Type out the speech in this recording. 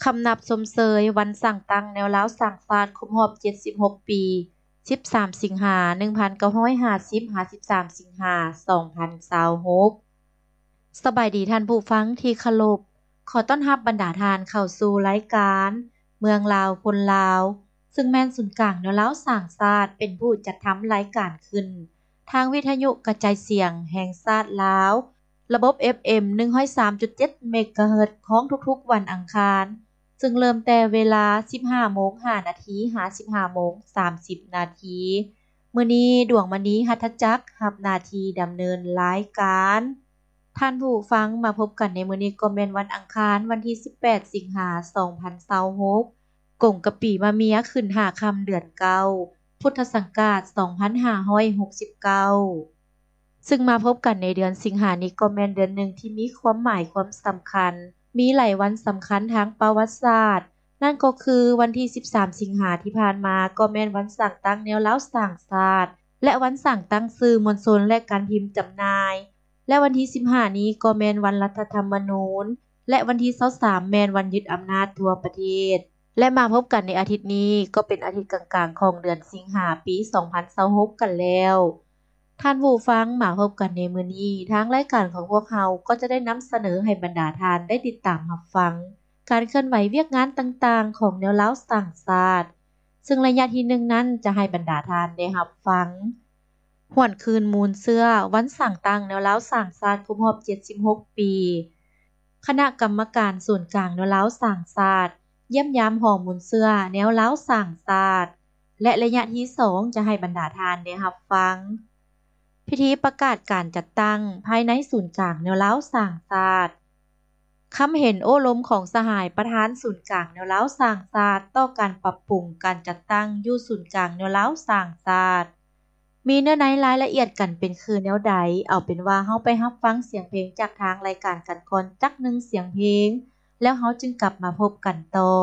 ຄຳນັບຊົມເຊີຍວັນສ້າງຕັ້ງແນວລາວສ້າງຊາດຄົບຮອບເຈັດສິບຫົກປີ ສິບສາມສິງຫາ ໜຶ່ງພັນເກົ້າຮ້ອຍຫ້າສິບ ຫາ ສິບສາມສິງຫາ ສອງພັນຊາວຫົກ. ສະບາຍດີທ່ານຜູ້ຟັງທີ່ເຄົາລົບ, ຂໍຕ້ອນຮັບບັນດາທ່ານເຂົ້າສູ່ລາຍການເມືອງລາວຄົນລາວ, ຊຶ່ງແມ່ນສູນກາງແນວລາວສ້າງຊາດເປັນຜູ້ຈັດທຳລາຍການຂຶ້ນ ທາງວິທະຍຸກະຈາຍສຽງແຫ່ງຊາດລາວ ລະບົບ ເອັຟເອັມ ໜຶ່ງຮ້ອຍສາມຈຸດເຈັດ ເມກາເຮີດ ຂອງທຸກໆວັນອັງຄານ, ຊຶ່ງເລີ່ມແຕ່ເວລາ ສິບຫ້າໂມງຫ້ານາທີ ຫາ ສິບຫ້າໂມງສາມສິບນາທີ. ມື້ນີ້ ດວງມະນີ ຫັດຖະຈັກ ຮັບໜ້າທີ່ດຳເນີນລາຍການ. ທ່ານຜູ້ຟັງ, ມາພົບກັນໃນມື້ນີ້ກໍແມ່ນວັນອັງຄານ ວັນທີສິບແປດ ສິງຫາ ສອງພັນຊາວຫົກ, ກົງກະປີມະເມຍ ຂຶ້ນຫ້າຄ່ຳເດືອນເກົ້າ ພຸດທະສັງກາດ ສອງພັນຫ້າຮ້ອຍຫົກສິບເກົ້າ. ຊຶ່ງມາພົບກັນໃນເດືອນສິງຫານີ້ກໍແມ່ນເດືອນໜຶ່ງທີ່ມີຄວາມໝາຍຄວາມສຳຄັນ, ມີຫຼາຍວັນສຳຄັນທາງປະຫວັດສາດ, ນັ້ນກໍຄືວັນທີສິບສາມ ສິງຫາທີ່ຜ່ານມາ ກໍແມ່ນວັນສ້າງຕັ້ງແນວລາວສ້າງຊາດ ແລະ ວັນສ້າງຕັ້ງສື່ມວນຊົນ ແລະ ການພິມຈຳໜ່າຍ, ແລະ ວັນທີສິບຫ້ານີ້ກໍແມ່ນວັນລັດຖະທຳມະນູນ ແລະ ວັນທີຊາວສາມແມ່ນວັນຍຶດອຳນາດທົ່ວປະເທດ. ແລະ ມາພົບກັນໃນອາທິດນີ້ ກໍເປັນອາທິດກາງໆຂອງເດືອນສິງຫາ ປີສອງພັນຊາວຫົກກັນແລ້ວ. ທ່ານຜູ້ຟັງ, ມາພົບກັນໃນມື້ນີ້, ທາງລາຍການຂອງພວກເຮົາກໍຈະໄດ້ນຳສະເໜີໃຫ້ບັນດາທ່ານໄດ້ຕິດຕາມຮັບຟັງການເຄື່ອນໄຫວວຽກງານຕ່າງໆຂອງແນວລາວສ້າງຊາດ, ຊຶ່ງໄລຍະທີໜຶ່ງນັ້ນຈະໃຫ້ບັນດາທ່ານໄດ້ຮັບຟັງ ຫວນຄືນມູນເຊື້ອວັນສ້າງຕັ້ງແນວລາວສ້າງຊາດຄົບຮອບເຈັດສິບຫົກປີ, ຄະນະກຳມະການສູນກາງແນວລາວສ້າງຊາດ ຢ້ຽມຢາມຫໍມູນເຊື້ອແນວລາວສ້າງຊາດ ແລະ ໄລຍະທີສອງຈະໃຫ້ບັນດາທ່ານໄດ້ຮັບຟັງ ພິທີປະກາດການຈັດຕັ້ງພາຍໃນສູນກາງແນວລາວສ້າງຊາດ, ຄຳເຫັນໂອ້ລົມຂອງສະຫາຍປະທານສູນກາງແນວລາວສ້າງຊາດຕໍ່ການປັບປຸງການຈັດຕັ້ງຢູ່ສູນກາງແນວລາວສ້າງຊາດ. ມີເນື້ອໃນລາຍລະອຽດກັນເປັນຄືແນວໃດ? ເອົາເປັນວ່າເຮົາໄປຮັບຟັງສຽງເພງຈາກທາງລາຍການກັນກ່ອນຈັກໜຶ່ງສຽງເພງ, ແລ້ວເຮົາຈຶ່ງກັບມາພົບກັນຕໍ່.